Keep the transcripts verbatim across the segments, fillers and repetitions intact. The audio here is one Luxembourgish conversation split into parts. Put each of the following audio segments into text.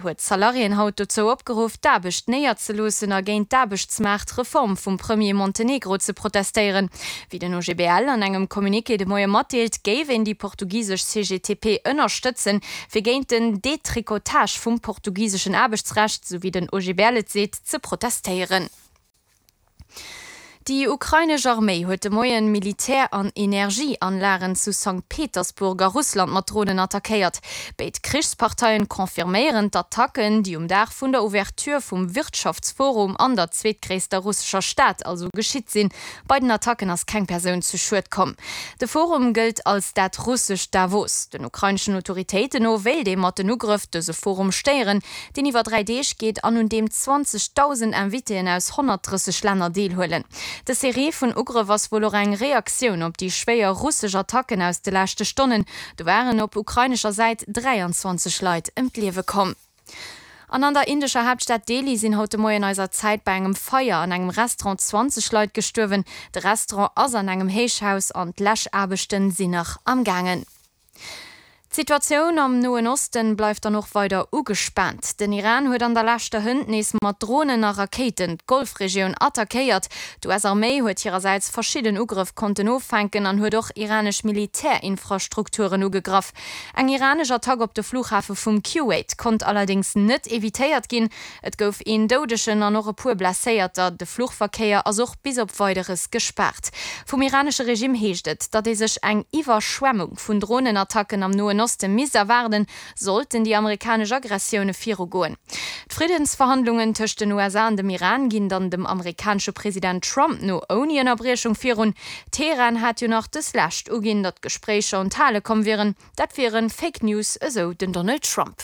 huet d'Salariéen haut dozou opgeruff, d'Aarbecht néierzeloossen a géint d'Aarbechtsmaartreform vum Premier Montenegro ze protestéieren. Wéi den O G B L an engem Communiqué de Moie matdeelt, géif een déi portugisesch C G T P ënnerstëtzen, fir géint den Detricotage vum portugiseschen Aarbechtsrecht, sou wéi den O G B L et seet, ze protestéieren. Déi ukrainesch Arméi huet de Moien Militär an Energieanlagen zu Sankt Petersburg a Russland mat Dronen attackéiert. Béid Krichsparteien confirméieren d'Attacken, déi um Dag vun der Ouverture vum Wirtschaftsforum an der zweetgréisster russescher Stad also geschitt sinn. Bei den Attacken ass keng Persoun zu Schued komm. De Forum gëllt als dat russescht Davos. Den ukraineschen Autoritéiten no wéilt ee mat den Ugrëff dëse Forum stéieren, deen iwwer dräi Deeg geet an un deem zwanzegdausend Invitéen aus honnertdrësseg Länner deelhuelen. Dës Serie vun Ugrëff ass wuel och eng Reaktioun op déi schwéier russesch Attacken aus de leschte Stonnen. Do waren op ukrainescher Säit dräianzwanzeg Leit ëm d'Liewe komm. An an der indescher Haaptstad Delhi sinn haut de Moien eiser Zäit bei engem Feier an engem Restaurant zwanzeg Leit gestuerwen. De Restaurant ass an engem Héichhaus an d'Läschaarbechten sinn nach am gaangen. D'Situatioun am Noen Osten bleift dann och weider ugespaant. Den Iran huet an der leschter hënt nees mat Dronen a Rakéiten d'Golfregioun attackéiert. D'U S-Arméi huet hirersäits verschidden Ugrëff konnten offänken an huet och iranesch Militärinfrastrukturen ugegraff. Eng iranesch Attack op de Flughafe vum Kuwait konnt allerdéngs net evitéiert ginn. Et gouf een Doudegen an och e puer Blesséierter. De Fluchverkéier ass och bis op Weideres gespaart. Vum iranesche Regime heescht et, datt ee sech eng Iwwerschwemmung vun Dronenattacken am Noen Oste misst erwaarden, sollten déi amerikanesch Aggressioune virugoen. D'Friddensverhandlungen tëscht den U S A an dem Iran ginn dann dem amerikanesche President Trump no ouni Ënnerbriechung virun. Teheran hat jo nach dës Lescht uginn, datt d'Gespréicher un d'Hale komm wieren. Dat wiere Fake News, esou den Donald Trump.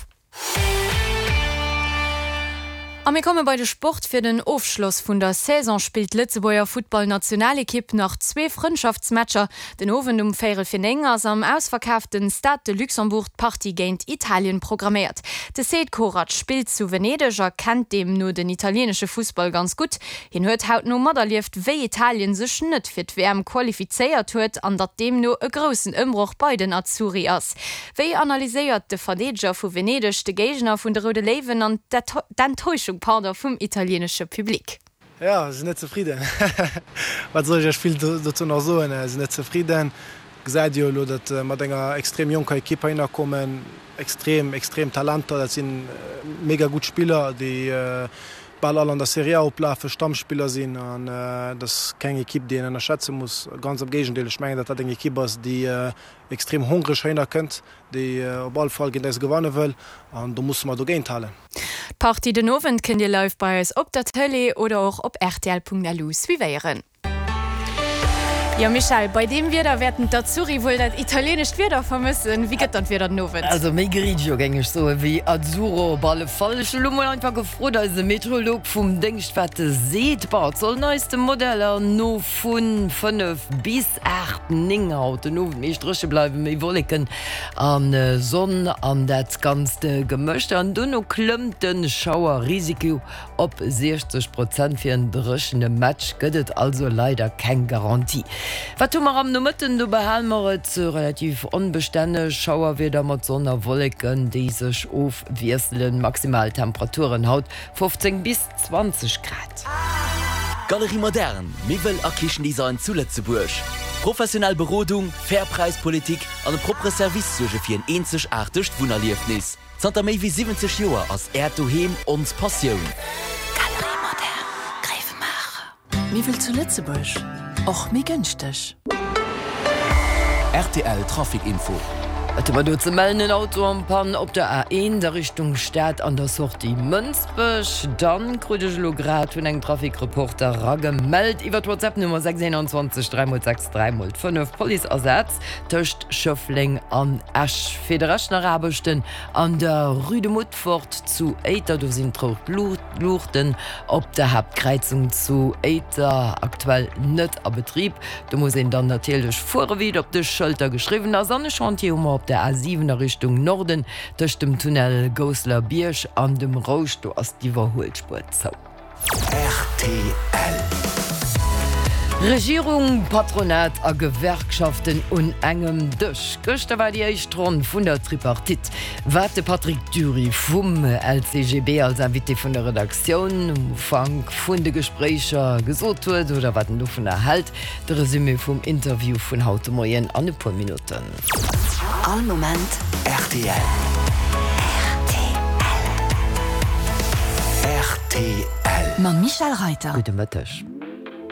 A mir komme bei de Sport. Fir den Ofschloss vun der Saison spillt d'Lëtzebuerger Futtballnationalekipp nach zwee Frëndschaftsmatcher. Den Owend um véierel fir néng ass am ausverkaafte Stade de Luxembourg d'Partie géint Italien programméiert. De Sead Korac spillt zu Venedeg a kennt deemno den italieenesche Fussball ganz gutt. Hien huet hautno materlieft, wéi Italien sech net fir d'W M qualifizéiert huet an datt deemno e groussen Ëmbroch bei den Azzurri ass. Wéi analyséiert de Verdeedeger vu Venedeg de Géigner vun de Roude Léiwen an d'Enttäuschung, pardon, vum italieenesche Public? Ja, sinn net zefridden. Wat soll ech vill dozou nach soen? Sinn net zefridden. Gesäit jo elo, datt mat enger extrem jonker Ekipp heihinner kommen, extrem extrem Talenter, dat sinn mega gutt Spiller, déi bal all an der Serie A oplafen, Stammspiller sinn an dat ass keng Ekipp, déi een ënnerschätze muss. Ganz am Géigendeel, ech mengen, datt dat eng Ekipp ass, déi extrem hongreg heihinner kënnt, déi op alle Fall géint eis gewanne wëll an do musse mer dogéint halen. D'Partie den Owend kënnt Dir live bei eis op der Tëlee oder och op R T L Punkt L U suivéieren. Jo Michèle, bei deem Wieder wäerten d'Azzurri wuel dat italieenescht Wieder vermëssen. Wéi gëtt dann d'Wieder den Owend? Also méi grigio géing ech soen, wéi azzurro op alle Fall. Ech hu lo mol einfach gefrot eise Meteorolog vum Déngscht, wat e seet. Bon, et soll neiste Modeller no vu fënnef bis aacht, néng haut den Owend meescht dréche bleiwen, méi Wolleken an Sonn an dat Ganzt gemëscht. An dono klëmmt de Schauerrisiko op siechzeg Prozent. Fir en dréchene Match gëtt et also leider keng Garantie. Wat hu mer am Nomëtten? Do behale mer et relativ onbestänneg, Schauerwieder mat Sonn a Wolleken, déi sech ofwiesselen. Maximal Temperaturen haut fofzéng bis zwanzeg Grad. Galerie Moderne, Miwwel a Kichendesign zu Lëtzebuerg. Professionell Berodung, fair Präispolitik an e proppere Service suerge fir en eenzegaartegt Wunnerliefnis. Zanter méi wéi siwwenzeg Joer ass Äert Doheem ons Passioun. Galerie Moderne, Gréiwemaacher. Miwwel zu Lëtzebuerg, och méi gënschteg. R T L Trafic Info. Wat hu mer do ze mellen? En Auto en panne op der A eent a Richtung Stad an der Sortie Mënsbech. Dann krut ech elo grad vun engem Trafic-Reporter eragemellt iwwer d'WhatsApp Nummer sechs einundzwanzeg dräi mol sechs dräi mol fënnef, Policeasaz tëscht Schëffleng an Esch. Fir de Rescht nach Aarbechten an der Rue de Mutfort zu Éiter. Do sinn d'rout Luuchten op der Haaptkräizung zu Éiter aktuell net a Betrib. Do muss een dann natierlech fuere wéi et op de Schëlter geschriwwen ass. An e Chantier hu mer op der A siwen a Richtung Norden tëscht dem Tunnel Gousseler Bierg an dem Rouscht. Do ass d'Iwwerhuelspuer zou. R T L. Regierung, Patronat a Gewerkschaften un engem Dësch. Gëschter war déi éischt Ronn vun der Tripartite. Wat de Patrick Dury vum LCGB als Invité vun der Redaktioun um Ufank vun de Gespréicher gesot huet oder wat en dovunner hält, de Resumé vum Interview vun haut de Moien an e puer Minutten. All Moment rtl. Rtl. Mam Michèle Reiter. Gudde Mëtteg.